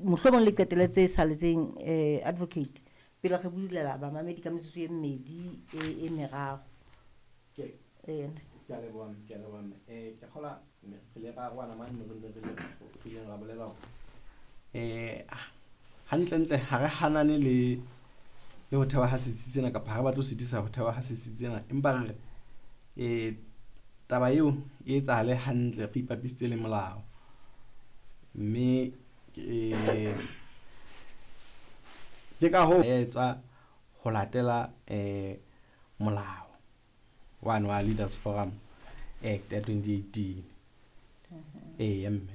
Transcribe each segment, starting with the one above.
Mohlomong le qetele tse saletseng, advocate, pele re bulela bamamedi ka metsotso e mmedi e meraro. Ke ke a leboha, ke a leboha mme. Ke kgola re ile ra arohana mane mo re ne re le re ileng ra bolela hore hantlentle ha re hanane le ho thewa ha setsi sena kapa ha re batle ho sitisa ho thewa ha setsi sena, empa re re taba eo e etsahale hantle re ipapisitse le molao. Mme ke ka hoo etsa ho latela molao wane wa Leaders Forum Act ya 2018. Eya mme,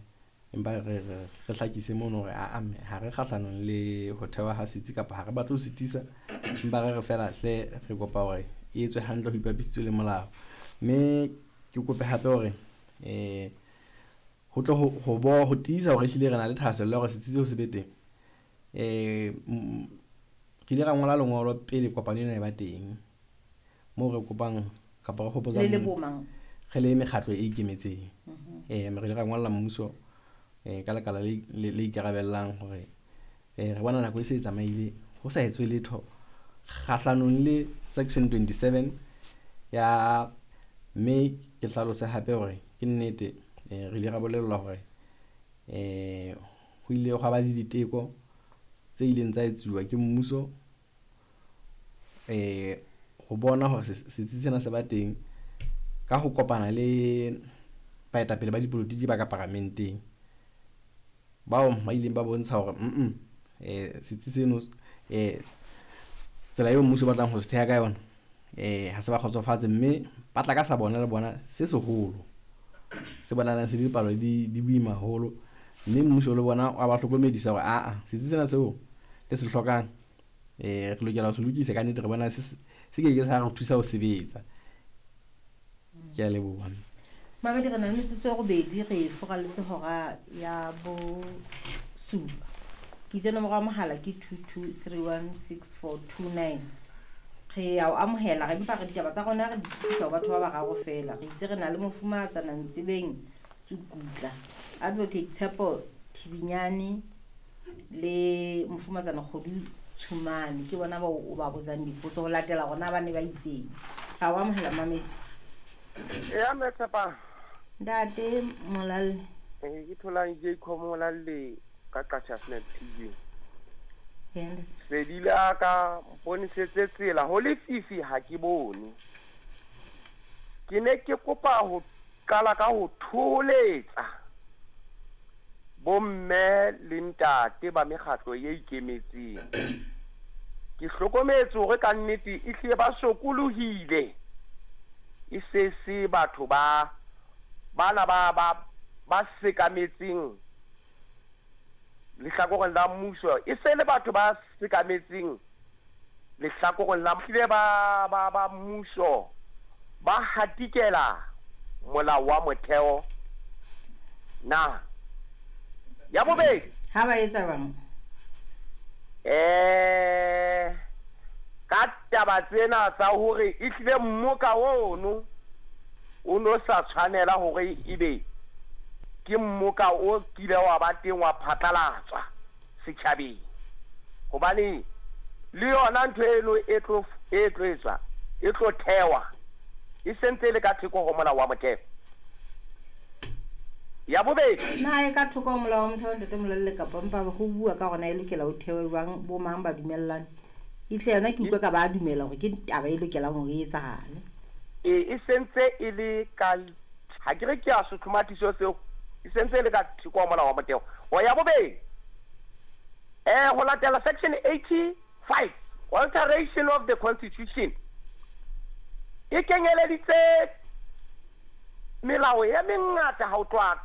empa re hlakise mono hore aa mme ha re kgahlanong le ho thewa ha setsi kapa ha re batle ho sitisa, empa re re feela hle re kopa hore e etswe hantle ho ipapisitswe le molao. Mme ke kope hape hore ho tle ho tiisa hore ehlile re na le thahasello ya hore setsi seo se be teng. Re ile ra ngola lengolo pele kopano ena e ba teng, moo re kopang kapa re hopotsang Le le bo mang? Re le mekgatlo e ikemetseng. Re ile ra ngolla mmuso ka lekala le ikarabellang hore re bona nako e se e tsamaile ho sa etswe letho kgahlanong le section 27 ya. Mme ke hlalose hape hore ke nnete, re ile ra bolellwa hore ho ile hwa ba le diteko tse ileng tsa etsuwa ke mmuso ho bona hore setsi sena se ba teng ka ho kopana le baetapele ba dipolotiki ba ka paramenteng, bao ba ileng ba bontsha hore setsi seno, tsela eo mmuso o batlang ho se theha ka yona, ha se ba kgotsofatse, mme ba tla ka sa bona le bona se seholo se bonahalang se dipalo di boima haholo, mme mmuso le bona wa ba hlokomedisa hore aa setsi sena seo le se hlokang, re lokela ho se lokisa ka nnete, re bona se ke ke sa re thusa ho sebetsa. Ke a leboha. Mamedi, re na le metsotso e robedi, re furaletse hora ya bosupa. Ke itse nomoro ya mohala ke 22316429. Re a o amohela, re empa re ditaba tsa rona re di supisa ho batho ba bararo feela. Re itse re na le mofumahatsana Ntsebeng Tsukutla, Advocate Tshepo Thibinyane le mofumahatsana Kgodu Tshumane. Ke bona bao o ba botsang dipotso ho latela rona ba ne ba itseng. Ra o amohela, mamedi. Ya mme Tshepang. Ntate Molalle. Ke tholang Jacob Molalle ka Qacha's TV. Yena. Sedi la ka mponisetse tsela ho lefifi ha ke bone. Ke ne ke kopa ho qala ka ho thoholetsa bomme le ntate ba mekgatlo e ikemetseng. Ke hlokometse hore ka nnete e hlile ba sokolohile. E se se batho ba bana ba sekametseng lehlakoreng la mmuso, e se le batho ba sekametseng lehlakoreng la hlile ba mmuso ba hatikela molao wa motheo. Na ya bobedi ha ba etsa bang ka taba tsena tsa hore e hlile mmoka ono o no sa tshwanela hore ebe ke mmoka o kile wa ba teng wa phatlalatswa setjhabeng, hobane le yona ntho eno e tlo etswa e tlo thewa e sentse le ka theko ho molao wa motheo. Ya bobedi, na e ka thoko ho molao wa motheo, ntate Molalle, kapa mpa ho bua ka hona e lokela ho thewe jwang, bo mang ba dumellane? Ehlile yona ke utlwa ka ba dumela hore ke taba e lokelang hore e etsahale. E sentse e le ka ha ke re ke a sotlhomathiso seo, e sentse e le ka theko ho molao wa motheo. O ya bobedi, ho latela section 85 alteration of the constitution e kenyeleditse melao e mengata ha o tloha